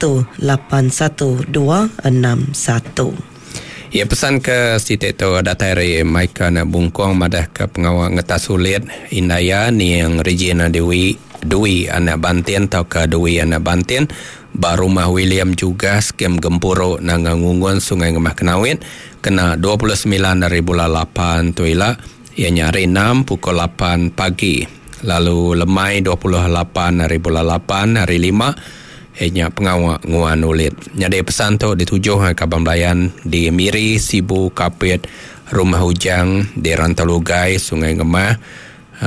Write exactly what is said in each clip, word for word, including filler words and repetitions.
satu lapan satu dua enam satu. Ya, pesan ke siti tu datai ari Michael anak Bungkong madah ke pengawa ngetas ulit indaya niang Regina Dewi Dwi anak Bantin tau ke Dwi anak Bantin ba rumah William juga skim gempuru Nanga Ngungun Sungai Ngemah Kenawit kena dua puluh semilan hari bulan lapan tu ila, ianya hari enam pukul lapan pagi. Lalu lemai dua puluh lapan hari bulan lapan hari lima ianya pengawa nguan ulit. Jadi pesan tu dituju ke Kaban Belayan di Miri, Sibu, Kapit, Rumah Ujang di Rantau Lugai, Sungai Ngemah,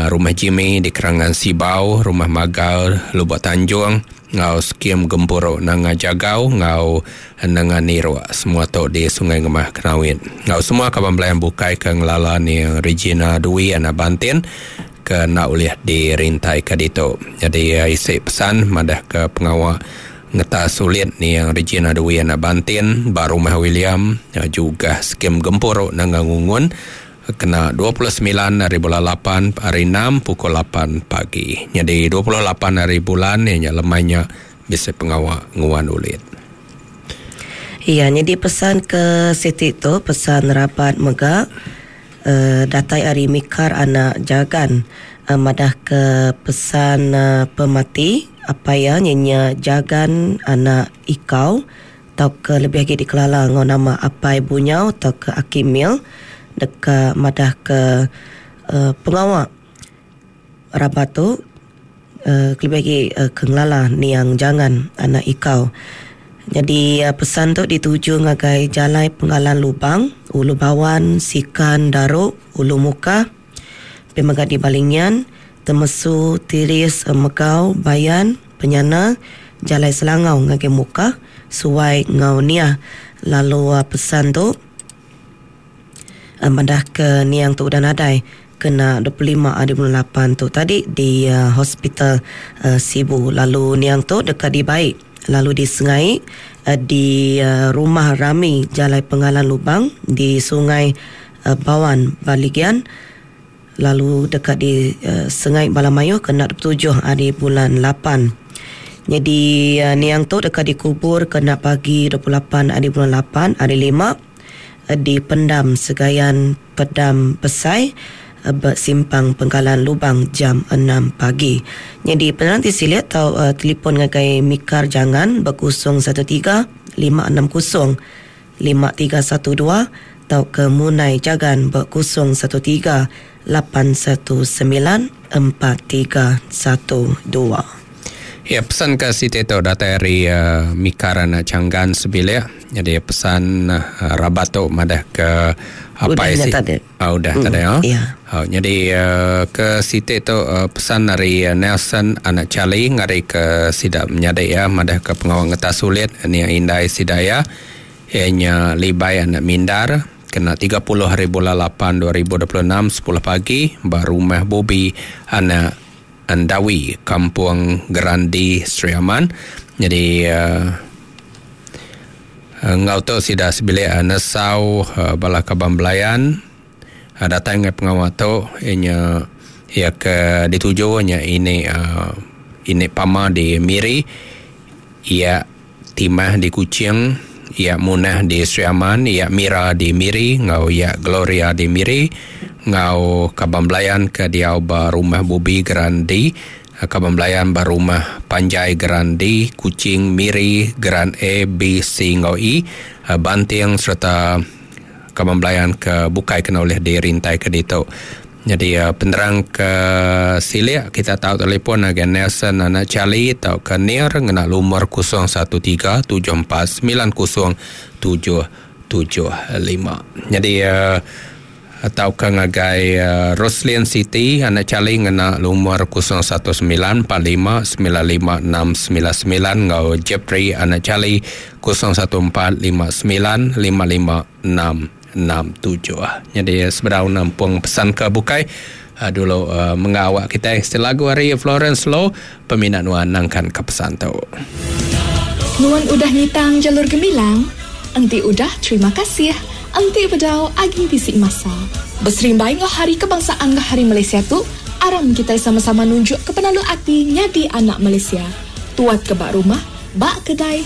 Rumah Jimmy di Kerangan Sibau, Rumah Magal, Lubuk Tanjung, ngau skim gempuru Nanga Jagau, ngau Nanga Niruk, semua tu di Sungai Ngemah Kenawit. Ngau semua Kaban Belayan bukai ke ngelala ni Regina Dwi anak Bantin ke nak ulih dirintai ke ditu. Jadi isi pesan madah ke pengawa ngetas sulit ni yang Regina Dwi anak Bantin ba Rumah William juga skim gempuru Nanga Ngungun kena dua puluh semilan hari bulan lapan hari enam pukul lapan pagi. Jadi dua puluh lapan hari bulan ni nya lemainya bisa pengawa nguan ulit. Iya, jadi pesan ke siti tu pesan rabat mega uh, datai ari Mikar anak Jagan uh, madah ke pesan uh, pemati apa ya nyenya Jagan anak Ikau tau ke lebih lagi dikelala ngau nama Apai Bunyau tau ke Akimil deka madah ke uh, pengawa rabat tu uh, lebih lagi uh, ke ngelala niang Jangan anak Ikau. Jadi uh, pesan tu dituju ngagai Jalai Penggalan Lubang, Ulu Bawan, Sikan, Daruk, Ulu Muka, Pemegah di Balingian, Temesu, Tiris, Megau, Bayan, Penyana, Jalai Selangau ngagai Muka, Suai Ngau Nia. Lalu uh, pesan tu uh, madah ke niang tu udah nadai kena dua puluh lima hari bulan lapan tu tadi di uh, hospital uh, Sibu. Lalu niang tu dekat dibaik lalu di Sengai uh, di uh, rumah Rami Jalai Penggalan Lubang di Sungai uh, Bawan Baligian. Lalu dekat di uh, Sengai Balamayo kena dua puluh tujuh hari bulan lapan. Jadi uh, niang tu dekat dikubur kena pagi dua puluh lapan hari bulan lapan hari lima uh, di Pendam Segayan Pedam Besai uh, bersimpang Penggalan Lubang jam enam pagi. Jadi penerang siliat atau uh, telefon ngagai Mikar Jangan berkosong satu tiga lima enam kosong lima tiga satu dua atau ke Munai Jagan berkosong satu tiga lapan satu sembilan empat tiga satu dua. Ya, pesan ke Siti tu datang dari uh, Mikar anak Canggan sebilik. Jadi pesan uh, rabat tu madah ke apa udah isi? Tadi. Ah, udah mm, tadi ya. Ya. Oh, jadi uh, ke Siti tu uh, pesan dari uh, Nelson anak Charlie ngari ke sidak menyadik ya madah ke pengawal ngetas sulit ni indai sidaya ianya Libai anak Mindar kena tiga puluh hari bulan lapan dua ribu dua puluh enam sepuluh pagi ba rumah Bobi anak Andawi Kampung Gerandi Sri Aman. Jadi uh, ngau tu sida sebilik uh, nesau uh, bala kaban belayan uh, datang ngai pengawal tu ianya ia ke dituju nya ini uh, ini pama di Miri, ia Timah di Kuching, ia Munah di Sri Aman, ia Mira di Miri, ngau ia Gloria di Miri, ngau kaban belayan ke diau ba rumah Bubi Gerandi, kaban belayan ba rumah Panjai Gerandi, Kuching, Miri, Geran A, B, C ngau E, Banting serta kaban belayan ke bukai kena oleh dirintai ke ditu. Jadi penerang ke silik kita tahu telefon agen Nelson anak Charlie atau ke Nir ngena lumur kosong satu tiga tujuh empat sembilan kosong tujuh tujuh lima. Jadi uh, atau ke ngagai uh, Roslyn City anak Charlie ngena lumur kosong satu sembilan empat lima sembilan lima enam sembilan sembilan ngau Jeffrey anak Charlie kosong satu empat lima sembilan lima lima enam enam tujuh. Jadi seberau nampung pesan ke bukai uh, dulu uh, mengawak kita setelah lagu hari Florence Low peminat nuan nangkan ke pesan tu. Nuan udah ngitang jalur gemilang, enti udah terima kasih, enti bedau aging bisik masa. Berserimbai ngah hari kebangsaan ngah hari Malaysia tu, aram kita sama-sama nunjuk ke penalu ati nyadi anak Malaysia. Tuat ke bak rumah, bak kedai,